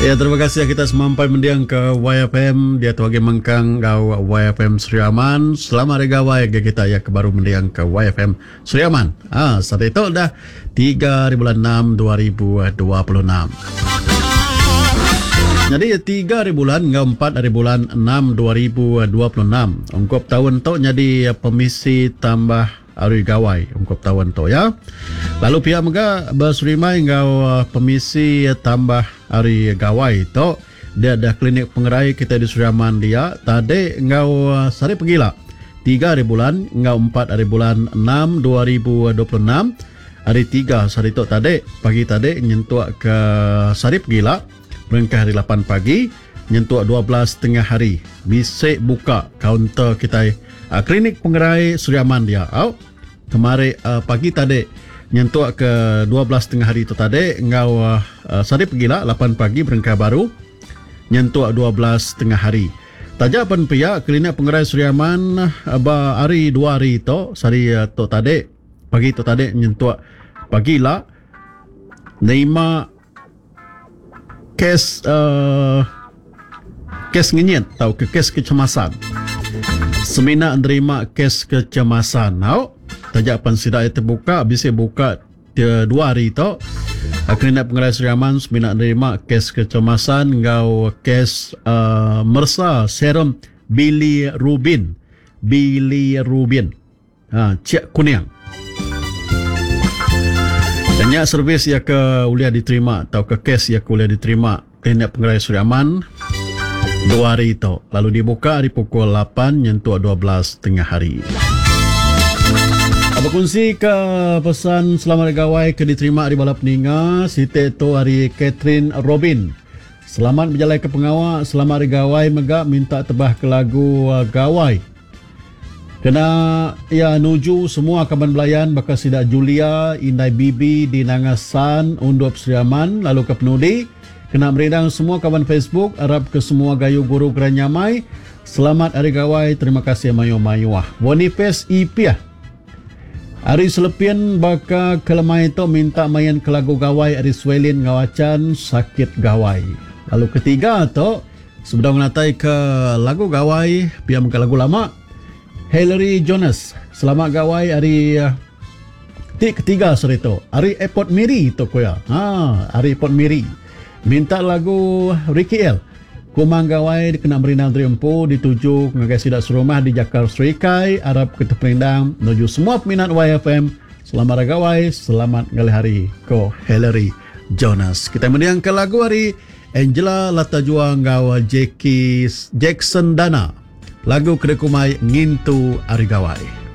Ya terima kasih kita semampai mending ke YFM diatu agi mengkang enggau YFM Sri Aman. Selamat Hari Gawai agi kita ya ke baru mending ke YFM Sri Aman. Ah sehari tu dah 3 hari bulan 6 2026. Nyadi 3 hari bulan enggau 4 hari bulan 6 2026 ungkup taun tu nyadi pemisi tambah Hari Gawai ungkup taun tu ya. Lalu pia mega beserimbai enggau pemisi tambah Hari Gawai tu dia dah klinik pengerai kitai di Sri Aman dia tadi enggau sehari pegila tiga hari bulan enggau empat hari bulan enam 2026 hari tiga sehari tu tadi pagi tadi nyentuk ke sehari pegila berengkah hari lapan pagi nyentuk 12 tengah hari bisi buka kaunter kitai Klinik Pengerai Sri Aman dia au. Kemari pagi tadi nyentuk ke 12 tengah hari tu tadi enggau sehari pegila lapan pagi berengkah baru nyentuk 12 tengah hari. Taja pen pia Klinik Pengerai Sri Aman ba hari dua hari tu sehari tu tadi pagi tu tadi nyentuk pagi ila nerima Kes kes ngenyit tauka kes kecemasan. Semina nerima kes kecemasan au taja pan sida iya tebuka bisi buka dua hari tu Klinik Pengerai Sri Aman semina nerima kes kecemasan enggau kes uhh meresa serum bilirubin bilirubin. Ha, cek kuning. Nya servis iya ke ulih diterima tauka kes iya ke ulih diterima Klinik Pengerai Sri Aman dua hari tu lalu dibuka ari pukul lapan nyentuk 12 tengah hari. Bekunsi ke pesan selamat hari gawai ke diterima ari bala peninga siti tu ari Catherine Robin. Selamat bejalai ke pengawa, selamat hari gawai mega minta tebah ke lagu gawai. Kena iya nuju semua kaban belayan baka sida Julia, indai Bibi di Nanga San, Undup Sri Aman lalu ke penudi kena merindang semua kaban Facebook arap ke semua gayu guru gerai nyamai. Selamat Hari Gawai terima kasih mayuh-mayuh. Boniface Ipiah Ari Selepin baka ke lemai tu minta main ke lagu Gawai ari Swelin enggau Achan Sakit Gawai. Lalu ketiga tu Sebedau ngenatai ke lagu gawai pia mega lagu lama Hillary Jonas selamat gawai ari ti ketiga sehari tu ari airport Miri tu ku iya ha ari airport Miri minta lagu Ricky El Kumang Gawai dikena merindang diri empu dituju ngagai sida serumah di Jakar Serikai arap ke teperindang nuju semua peminat YFM selamat hari gawai selamat ngalih hari ko Hillary Jonas kitai mending ke lagu ari Angela Lata Jua enggau Jackie Jackson Dana. Lagu ke dikumbai Ngintu Hari Gawai.